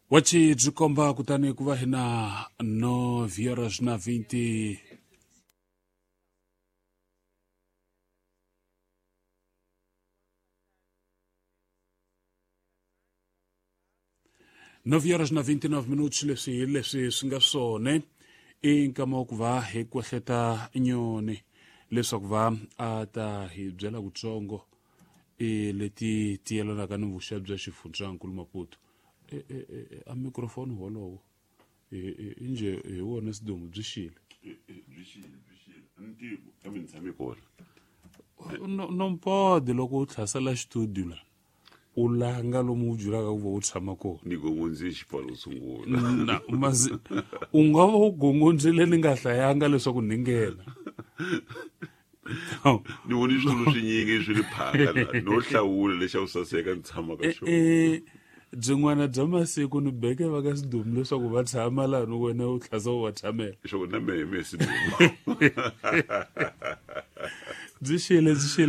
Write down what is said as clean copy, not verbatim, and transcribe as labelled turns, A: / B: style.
A: Wachi byi komba kutani ku va hi na 9 horas na 20 9 horas na 29 minutos. Leswi hi leswi swi nga swona i nkama wa ku va hi kwehleta nyoni leswaku va a ta hi byela kutsongo e leti ti yelanaka ni vuxa bya xifundzankulu Maputo. A microphone wolowo inje hi wona sidumu byi xile.
B: Byi xile, byi xile. A ni tivi kambe ni tshame kona.
A: Nompode loko u tlhasela studio la u langa lomu u byelaka ku va u tshama kona.
B: Ni gongondzile xipfalo sungula.
A: Na mazi u nga va u gongondzile ni nga hlayanga leswaku ni nghena.
B: Ni voni switulu swinyingi swi ri phaka la no hlawula lexa ku saseka ni tshama ka xona.
A: Byin'wana bya masiku ni beke va ka sidumu leswaku va tshama laha ni wena u tlhasa u va tshamela.
B: Leswaku na mehe mehe sidumu.
A: Byi xile, byi xile.